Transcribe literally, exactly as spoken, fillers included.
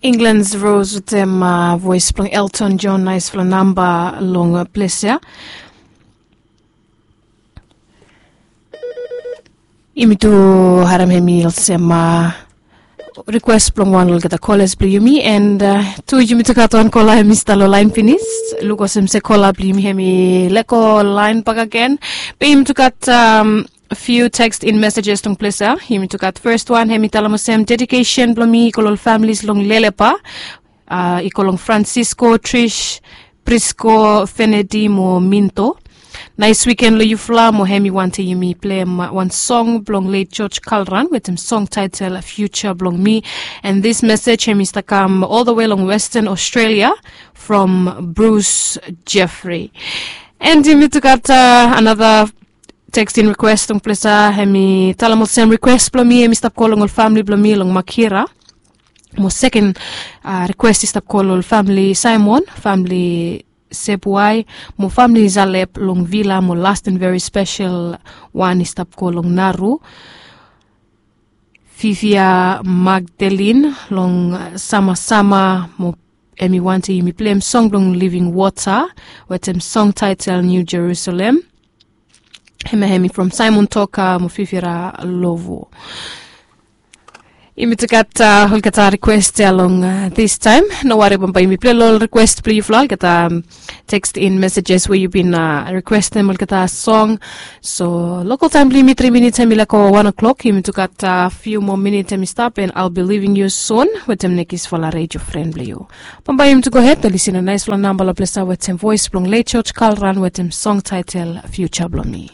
England's Rose wetem voes blong Elton John, naisfala namba long ples ya. Yumi tu harim hemi olsem request blong wan olgeta kolas blong yumi, and tu yumi tu gat wan kola hemi stap long lain pinis. Luk olsem se kola blong yumi hemi lego lain bakegen. Be yumi tu gat few text in messages long ples ya. Yumi tu gat first wan hemi talem olsem, dedication blong mi i go long ol families long Lelepa, i go long Francisco, Trish, Prisco, Fenedi mo Minto. Nais wiken long yufala mo hemi wantem yumi plem wan song blong late George Kalran wetem song title Future blong mi. And this message hemi stap kam all the way long Western Australia from Bruce Jeffrey. And yumi tu gat another text in request long ples ya, hemi talem olsem, request blong mi hemi stap go long ol famili blong mi long Makira. Mo second request i stap go long ol famili Simon, famili Sebuai, mo famili Zalep long Vila, mo last and very special wan i stap go long Naru, Vivia Magdalene long Samasama, mo hemi wantem yumi plem song blong Living Water wetem song title New Jerusalem. Hemia hemi from Simon Toka mo Vivia Lovo. Yumi tu gat olgeta request ya long this time. No wari, bambae yumi plem long ol request blong yufala, olgeta text in messages we yu bin requestem olgeta song. So local time blong yumi tri minits hemi lego wan o'clock. Yumi tu gat few more minutes hemi stap, and I'll be leaving you soon wetem nekisfala radio friend blong yu. Bambae yumi tu go ahead na lisin long naisfala namba long ples ya wetem voes blong late George Kalran wetem song title Future blong mi.